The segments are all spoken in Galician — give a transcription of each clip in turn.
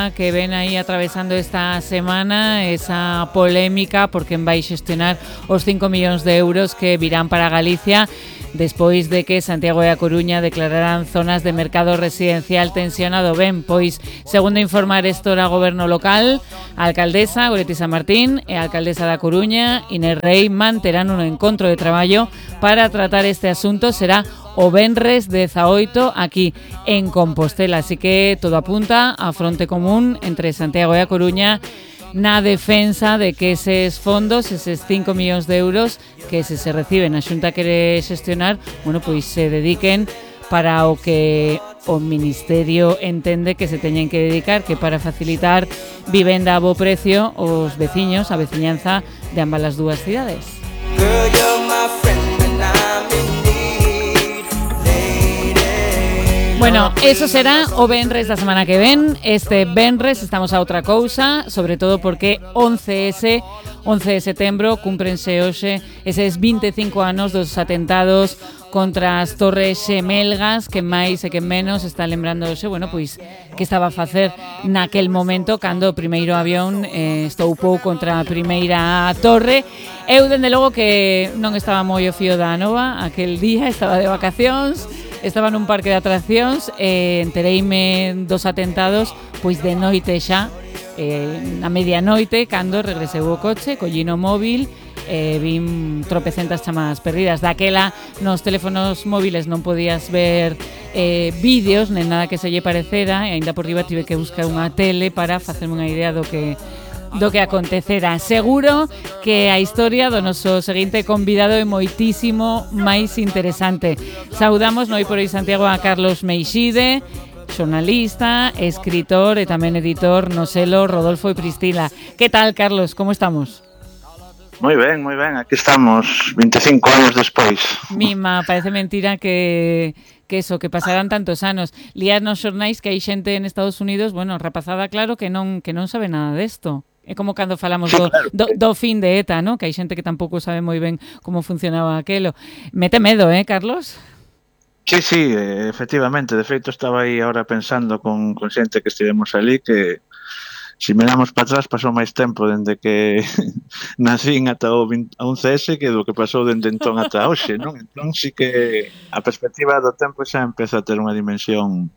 Santiagoa que ven aí atravesando esta semana esa polémica por quen vai xestionar os 5 millóns de euros que virán para Galicia despois de que Santiago e a Coruña declararan zonas de mercado residencial tensionado. Ben, pois, segundo informar Estora Goberno Local, a alcaldesa Goretti San Martín e a alcaldesa da Coruña, Inés Rei, manterán un encontro de traballo para tratar este asunto. Será o venres 18 aquí en Compostela, así que todo apunta a fronte común entre Santiago e a Coruña na defensa de que eses fondos, eses 5 millóns de euros que se reciben a Xunta quere xestionar, bueno, pois se dediquen para o que o Ministerio entende que se teñen que dedicar, que para facilitar vivenda a bo precio aos veciños, a veciñanza de ambas as dúas cidades. Bueno, eso será o venres da semana que ven. Este venres estamos a outra cousa, sobre todo porque 11 de setembro cúmprense hoxe eses 25 anos dos atentados contra as Torres Xemelgas, que máis e que menos está lembrándose, bueno, pois que estaba a facer naquel momento cando o primeiro avión estoupou contra a primeira torre. Eu, dende logo, que non estaba moi o fío da nova aquel día, estaba de vacacións, estaba nun parque de atraccións e entereime dos atentados pois de noite xa, a medianoite, cando regreseu o coche, collino móvil, vin tropecentas chamadas perdidas. Daquela nos teléfonos móviles non podías ver vídeos nen nada que se lle parecera, e aínda por riba tive que buscar unha tele para facerme unha idea do que acontecera. Seguro que a historia do noso seguinte convidado é moitísimo máis interesante. Saudamos no Hoy por Hoy Santiago a Carlos Meixide, xornalista, escritor e tamén editor no selo Rodolfo e Pristila. Que tal, Carlos? Como estamos? Moi ben, aquí estamos 25 anos despois. Mima, parece mentira que pasaran tantos anos. Lías nos xornais que hai xente en Estados Unidos, bueno, rapazada, claro, que non sabe nada desto. É como cando falamos do fin de ETA, ¿no? Que hai xente que tampouco sabe moi ben como funcionaba aquelo. Mete medo, Carlos? Sí, efectivamente. De feito, estaba aí ahora pensando con xente que estivemos ali que se miramos para atrás pasou máis tempo dende que nacín ata o 11S que do que pasou dende entón ata hoxe, non? Entón sí que a perspectiva do tempo xa empeza a ter unha dimensión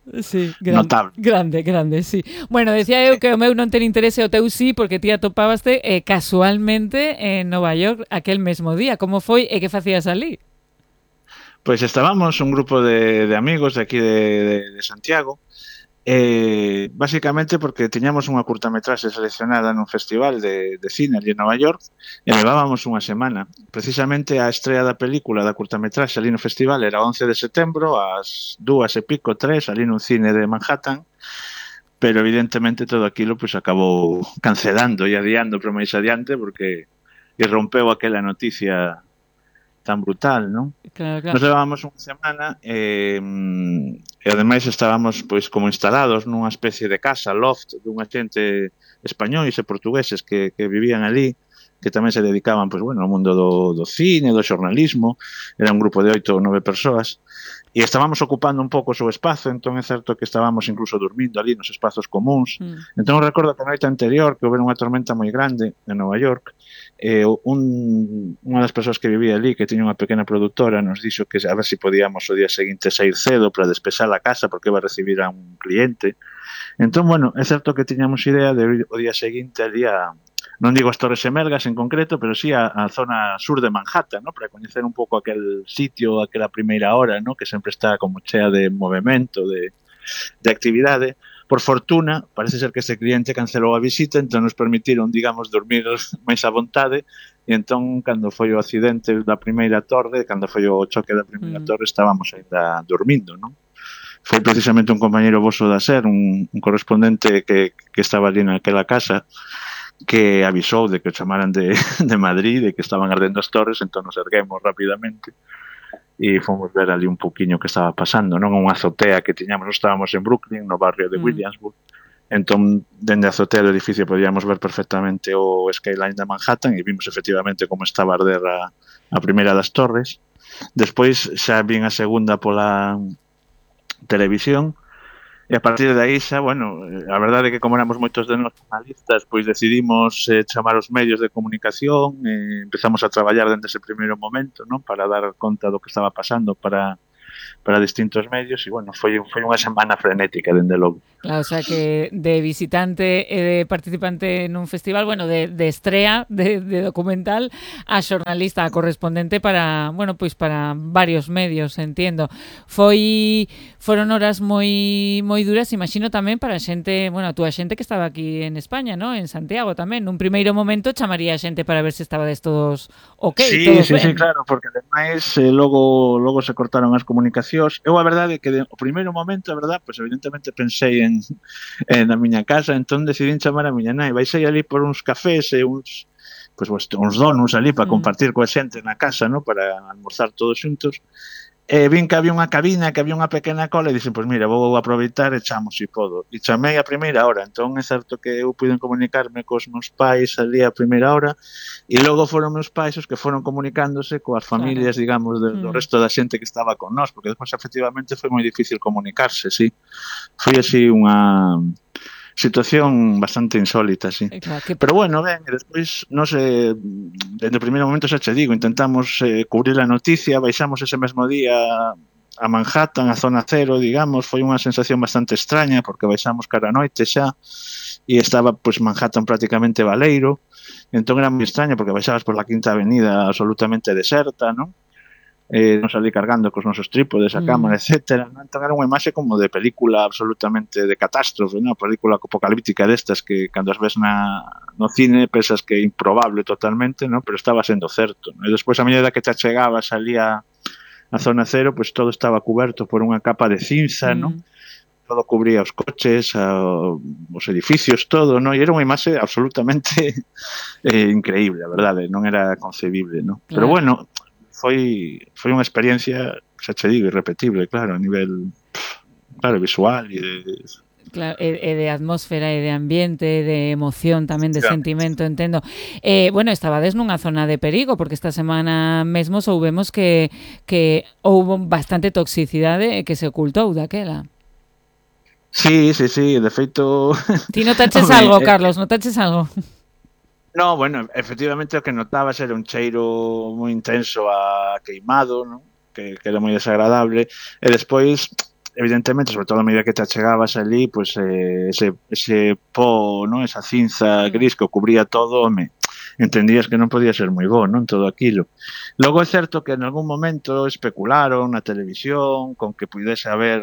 notable. Grande, sí. Bueno, decía eu que o meu non ten interese, o teu sí, porque ti atopábaste casualmente en Nova York aquel mesmo día. Como foi e que facías ali? Pois estábamos un grupo de amigos de aquí de Santiago, básicamente porque tiñamos unha curtametraxe seleccionada nun festival de cine ali en Nova York e levábamos unha semana. Precisamente a estrea da película da curtametraxe ali no festival era 11 de setembro ás 2:30, 3, ali nun cine de Manhattan, pero evidentemente todo aquilo pues acabou cancelando e adiando para máis adiante porque irrompeu aquela noticia tan brutal, non? Claro. Nos levábamos unha semana e ademais estábamos pois como instalados nunha especie de casa, loft, dunha xente españois e portugueses que vivían ali, que tamén se dedicaban pois, bueno, ao mundo do cine, do xornalismo. Era un grupo de 8 ou 9 persoas e estábamos ocupando un pouco o seu espazo, entón é certo que estábamos incluso dormindo ali nos espazos comuns. Entón recordo que a noite anterior que houbera unha tormenta moi grande en Nova York, unha das persoas que vivía ali, que tiña unha pequena produtora, nos dixo que a ver se podíamos o día seguinte sair cedo para despexar a casa porque iba a recibir a un cliente. Entón, bueno, é certo que tiñamos idea de ir o día seguinte ali non digo as Torres Xemelgas en concreto, pero sí a zona sur de Manhattan, ¿no? Para coñecer un pouco aquel sitio, aquela primeira hora, ¿no? Que sempre está como chea de movimento, de actividade. Por fortuna, parece ser que ese cliente cancelou a visita, entón nos permitiron, digamos, dormir máis a vontade, e entón, cando foi o accidente da primeira torre, cando foi o choque da primeira torre, estábamos ainda dormindo, non? Foi precisamente un compañeiro voso da SER, un correspondente que estaba ali naquela casa, que avisou de que o chamaran de Madrid, de que estaban ardendo as torres, entón nos erguemos rapidamente e fomos ver ali un pouquiño que estaba pasando, non? Unha azotea que tiñamos, estábamos en Brooklyn, no barrio de Williamsburg, entón, dende a azotea do edificio podíamos ver perfectamente o skyline de Manhattan e vimos efectivamente como estaba a arder a primeira das torres. Despois xa vin a segunda pola televisión E a partir de aí xa, bueno, a verdade é que como éramos moitos de nós jornalistas, pois decidimos chamar os medios de comunicación, empezamos a traballar dende ese primeiro momento, non? Para dar conta do que estaba pasando para distintos medios e, bueno, foi unha semana frenética, dende logo. Claro, o sea que de visitante e de participante nun festival, bueno, de estrea de documental a xornalista, a correspondente para, bueno, pois para varios medios, entiendo. Foron horas moi duras, imagino tamén para a xente, bueno, a túa xente que estaba aquí en España, ¿no? En Santiago tamén. Nun primeiro momento chamaría a xente para ver se estabades todos Sí, todos sí, ben. sí, claro, porque ademais logo se cortaron as comunicacións. Eu a verdade é que o primeiro momento, a verdade, pois evidentemente pensei na miña casa, entón decidín chamar a miña nai. Baixei ali por uns cafés e uns donuts ali para compartir coa xente na casa, ¿no? Para almorzar todos xuntos. Vin que había unha cabina, que había unha pequena cola e dixen, pois mira, vou aproveitar e chamo se podo. E chamei a primeira hora, entón é certo que eu puiden comunicarme cos meus pais ali a primeira hora e logo foron meus pais os que foron comunicándose coas familias, digamos, do resto da xente que estaba con nós, porque despois efectivamente foi moi difícil comunicarse, sí. Foi así unha situación bastante insólita, sí. Claro, pero bueno, ben, e despois nos dende o primeiro momento xa che digo, intentamos cubrir a noticia, baixamos ese mesmo día a Manhattan, a zona cero, digamos, foi unha sensación bastante extraña porque baixamos cara a noite xa e estaba pois Manhattan prácticamente baleiro, entón era moi extraño porque baixabas por la Quinta Avenida absolutamente deserta, non? Nos ali cargando cos nosos trípodes, a cámara, etcétera, non? Entón era unha imaxe como de película absolutamente de catástrofe, non? Película apocalíptica destas que cando as ves no cine pensas que é improbable totalmente, non? Pero estaba sendo certo, non? E despois a medida que te achegabas ali a zona cero, pois todo estaba cuberto por unha capa de cinza, non? Todo cubría os coches, os edificios, todo, non? E era unha imaxe absolutamente increíble, a verdade, non era concebible, non? Claro. Pero bueno, foi unha experiencia, xa che digo, irrepetible, claro, a nivel visual e de... Claro, e de atmósfera e de ambiente, de emoción tamén, de sentimento, entendo. Bueno, estabades nunha zona de perigo, porque esta semana mesmo soubemos que houbo bastante toxicidade que se ocultou daquela. Sí, de feito... Ti notaches algo, Carlos, notaches algo? No, bueno, efectivamente o que notabas era un cheiro moi intenso a queimado, non? Que era moi desagradable, e despois, evidentemente, sobre todo a medida que te achegabas ali, pois ese pó, non? Esa cinza gris que o cubría todo, entendías que non podía ser moi bo, non? Todo aquilo. Logo é certo que en algún momento especularon na televisión con que pudese haber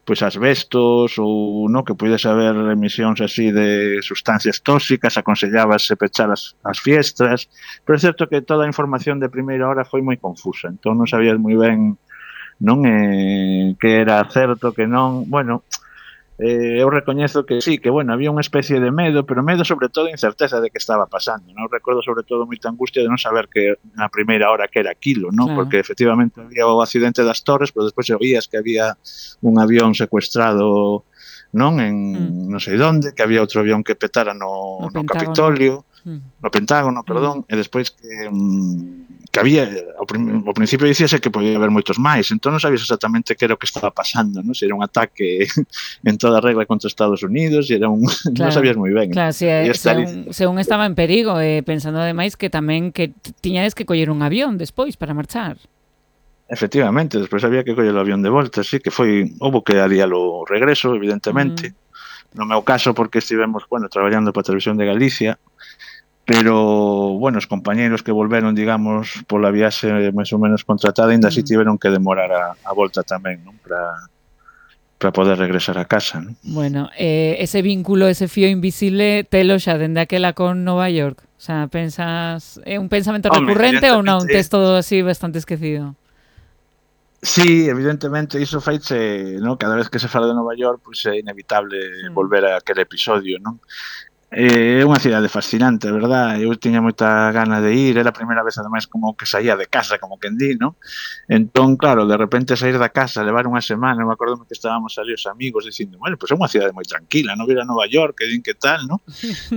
pois asbestos ou no que pudese haber emisións así de sustancias tóxicas, aconsellábase pechar as fiestras, pero é certo que toda a información de primeira hora foi moi confusa, entón non sabías moi ben non que era certo, que non, bueno, eu recoñezo que sí, que bueno, había unha especie de medo, pero medo sobre todo incerteza de que estaba pasando, non? Recordo sobre todo moita angustia de non saber que na primeira hora que era aquilo, non? Claro. Porque efectivamente había o accidente das Torres, pero despois oías que había un avión secuestrado, non? En non sei onde, que había outro avión que petara no Capitolio, no Pentágono, perdón, e despois que había, ao principio dicíase que podía haber moitos máis, entón non sabías exactamente que era o que estaba pasando, non? Se era un ataque en toda regla contra Estados Unidos, e era un... Claro, non sabías moi ben. Claro, según estaba en perigo, pensando ademais que tamén que tiñades que coller un avión despois para marchar. Efectivamente, despois había que coller o avión de volta, sí, que houbo que adialo o regreso, evidentemente. No meu caso, porque estivemos, bueno, traballando para a Televisión de Galicia, pero, bueno, os compañeiros que volveron, digamos, pola viaxe máis ou menos contratada, ainda así tiveron que demorar a volta tamén, non? Para poder regresar a casa, non? Bueno, ese vínculo, ese fío invisible, telo xa dende aquela con Nova York? O sea, pensas, é un pensamento recurrente ou non? Tes todo así bastante esquecido? Sí, evidentemente, iso faiche, non? Cada vez que se fala de Nova York, pois é inevitable volver a aquel episodio, non? É unha cidade fascinante, verdad? Eu tiña moita gana de ir, era a primeira vez ademais como que saía de casa, como quen di, non? Entón, claro, de repente sair da casa, levar unha semana, me acordo que estábamos ali os amigos dicindo, bueno, pois é unha cidade moi tranquila, non vir a Nova York, que din que tal, non?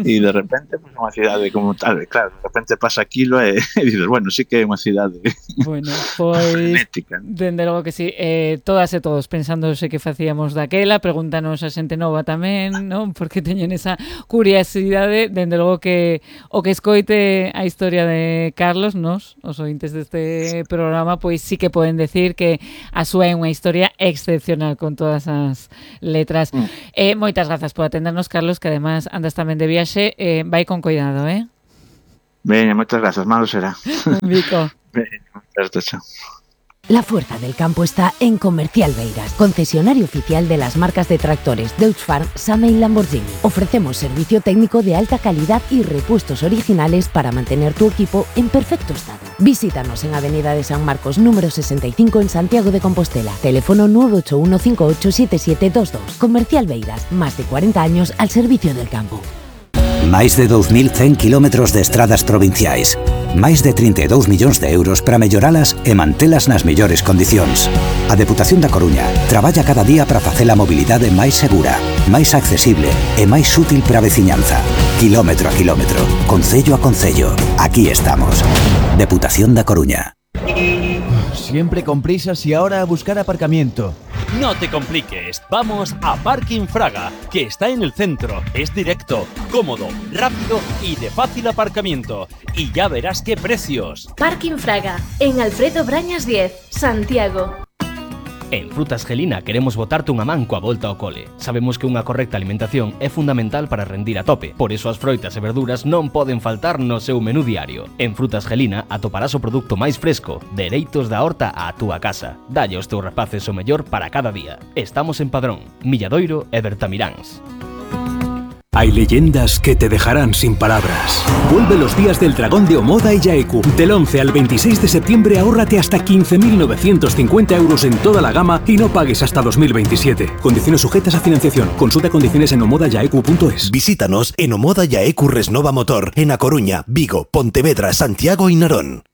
E de repente, pois é unha cidade como tal, e claro, de repente pasa aquilo e dices, bueno, sí que é unha cidade bueno, pois, frenética. dende logo que sí, todas e todos pensándose que facíamos daquela, pregúntanos a xente nova tamén, non? Porque teñen esa curiosidade, dende logo que o que escoite a historia de Carlos, nos, os ointes deste programa, pois sí que poden decir que a súa é unha historia excepcional con todas as letras. Moitas grazas por atendernos, Carlos, que además andas tamén de viaxe, vai con cuidado, Veña, moitas grazas, malo será. Un bico. Veña, moitas grazas. La fuerza del campo está en Comercial Beiras, concesionario oficial de las marcas de tractores Deutz Farm, Same y Lamborghini. Ofrecemos servicio técnico de alta calidad y repuestos originales para mantener tu equipo en perfecto estado. Visítanos en Avenida de San Marcos, número 65 en Santiago de Compostela. Teléfono 981587722. Comercial Beiras, más de 40 años al servicio del campo. Máis de 2.100 kilómetros de estradas provinciais. Máis de 32 millóns de euros para melloralas e mantelas nas mellores condicións. A Deputación da Coruña traballa cada día para facer a mobilidade máis segura, máis accesible e máis útil para a veciñanza. Kilómetro a kilómetro, concello a concello. Aquí estamos. Deputación da Coruña. Siempre con prisas y ahora a buscar aparcamiento. No te compliques, vamos a Parking Fraga, que está en el centro, es directo, cómodo, rápido y de fácil aparcamiento. Y ya verás qué precios. Parking Fraga, en Alfredo Brañas 10, Santiago. En Frutas Gelina queremos botarte unha man coa volta ao cole. Sabemos que unha correcta alimentación é fundamental para rendir a tope. Por iso as froitas e verduras non poden faltar no seu menú diario. En Frutas Gelina atoparás o produto máis fresco, dereitos da horta á túa casa. Dalle aos teus rapaces o mellor para cada día. Estamos en Padrón, Milladoiro e Bertamiráns. Hay leyendas que te dejarán sin palabras. Vuelve los días del dragón de Omoda y Yaeku. Del 11 al 26 de septiembre ahórrate hasta 15.950 euros en toda la gama y no pagues hasta 2027. Condiciones sujetas a financiación. Consulta condiciones en omodayaeku.es. Visítanos en Omoda Yaeku Resnova Motor en A Coruña, Vigo, Pontevedra, Santiago y Narón.